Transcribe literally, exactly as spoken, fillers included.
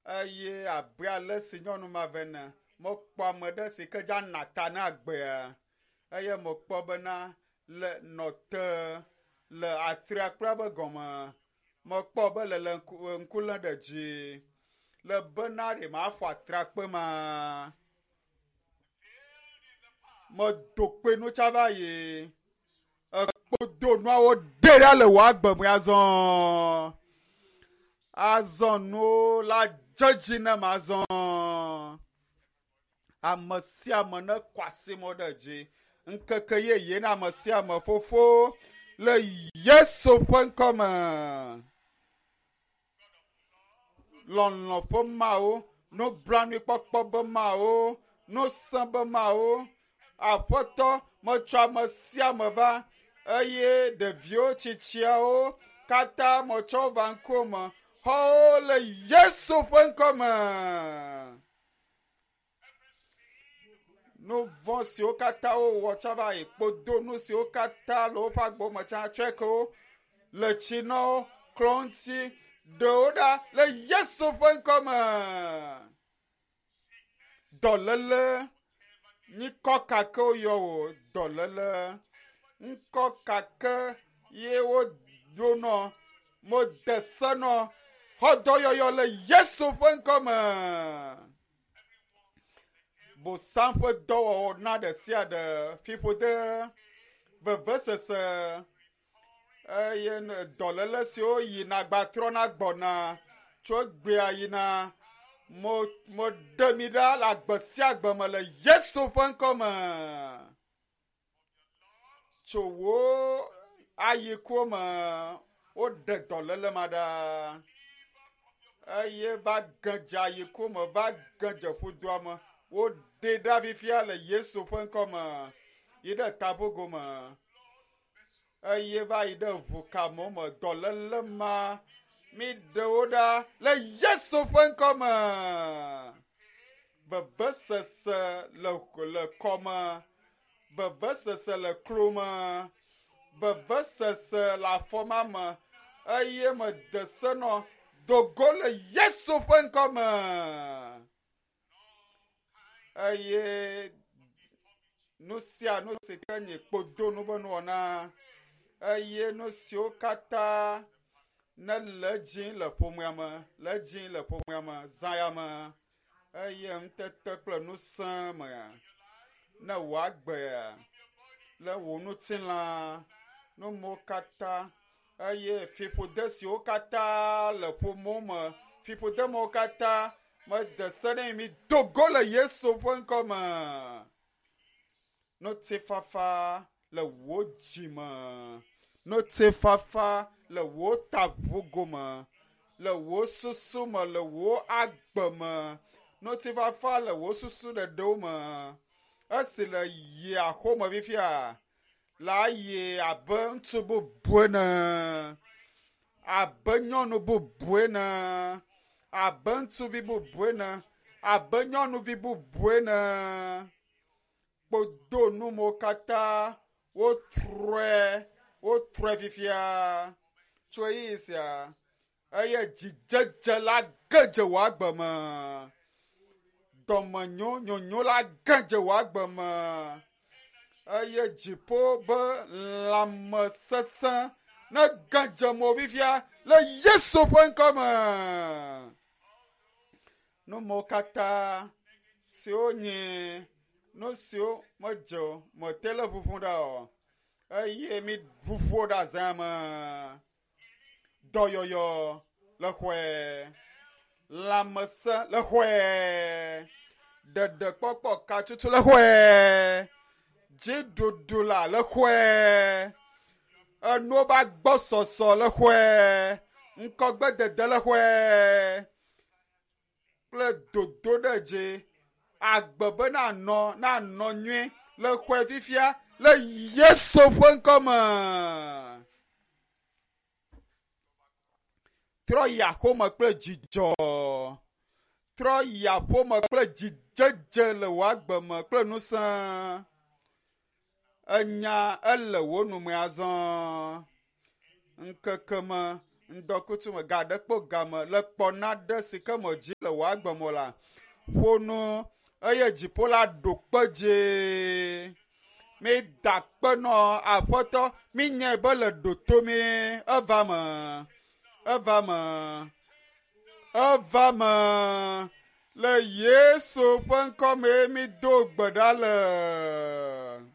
Eye abe ale si nyɔnu ma ve ne mekpɔ ame ɖe si ke dza na ta na agbea eye mekpɔ bena le nɔ te le atrakpui be gɔme mekpɔ be le le ŋku ŋku lém ɖe dzi le bena ɖe mafɔ atrakpui ma. Medo kpe nu tsa va yi. Ekpo nuawo ɖe ɖa le wò agbe me azɔ. Azɔ nuwo la dze dzi nam azɔ. Ame sia ame nekɔ asi mo ɖe dzi. Ŋkeke yeye na ame sia ame fofo le Yesu ƒe ŋkɔme. Lɔlɔ̃ ƒe Mawu, nublanuikpɔkpɔ be Mawu, ŋusẽ be Mawu, Aƒetɔ metsɔ ame sia ame va eye ɖeviwo tsitsiawo katã metsɔ va ŋkume xɔwo le Yesu ƒe ŋkɔme. Nu vɔ̃ siwo katã wowɔ tsã va yi kpodonu siwo katã le woƒe agbewo me tsã tsɔe ke wo le tsi na wo klɔ ŋuti ɖewo ɖa le Yesu ƒe ŋkɔme. Dɔléle nyikɔ kake woyɔ wò dɔléle ŋkɔ kake ye woɖo nɔ mode se nɔ xɔ dɔyɔyɔ le Yesu ƒe ŋkɔme. Bosam ƒe dɔwɔwɔ na ɖe sia ɖe fiƒode vevesese eye dɔléle siwo yina gbatrɔna gbɔna tso egbea yina mo moɖe mi ɖa le agbe sia agbe me le Yesu ƒe ŋkɔme. Tso wò ayikuwo me woɖe dɔléle ma ɖa eye va ge dze ayikuwo me va ge dze ƒudoa me woɖe ɖa fifia le Yesu ƒe ŋkɔme yi ɖe taƒogo me eye va yi ɖe ʋukamewo me dɔléle ma mi ɖe wo ɖa le Yesu ƒe ŋkɔme. Vevesese le le kɔme, vevesese le klo me, vevesese le afɔma me eye mede se nɔ dogo le Yesu ƒe ŋkɔme. Eye nu sia nu si ke nye kpodonu be nuwɔna eye nu siwo katã ne le edzi le ƒomea me le edzi le ƒomea me zã ya me eye ŋutete kple ŋusẽ me ne wò agbea le wò ŋutilã numewo katã eye fiƒode siwo katã le ƒomewo me fiƒodemewo katã mede se ne mi do go le Yesu ƒe ŋkɔme. Ŋutifafa le wò dzi me, ŋutifafa le wò taʋugo me, le wò susu me, le wò agbe me, ŋutifafa le wò susu ɖeɖewo me. Esi le yi axome fifia la yi abe ŋutsu bubu ene, abe nyɔnu bubu ene, abe ŋutsuvi bubu ene, abe nyɔnuvi bubu ene. Kpodonumewo katã wotrɔe wotrɔe fifia tso ɣeyiɣi sia eye dzidzedze la ge dze wò agbe me. Dɔmenyo nyonyo la ge dze wò agbe me eye dziƒo be lãmesesẽ ne ge dze mo fifia le Yesu ƒe ŋkɔme. Numewo katã siwo nye nu siwo medze o mete le ʋuʋum ɖa o eye mi ʋuʋu ɖe azã me. Dɔyɔyɔ le xɔe, lãmesẽ le xɔe, ɖeɖekpɔkpɔ katutu le xɔe, dziɖuɖu la le xɔe, enuwo be agbɔsɔsɔ le xɔe, ŋkɔgbedede le xɔe kple dodo ɖe dzi agbe be nanɔ nanɔ nyuie le xɔe fifia le Yesu ƒe ŋkɔme. Trɔ yi aƒeme kple dzidzɔ. Trɔ yi aƒeme kple dzidzedze le wò agbe me kple ŋusẽ. Enya ele wò nume azɔ. Ŋkeke me Ŋdɔkutsu me ga ɖe kpo game le kpɔ naɖe si ke me dzi le wò agbeme la. Ƒo nu eye dziƒo la ɖo kpe dzie. Mi da kpe nɔ aƒetɔ mi nyae be le ɖo to mi eva me eva me eva me le Yesu ƒe ŋkɔ me mi do gbe ɖa le.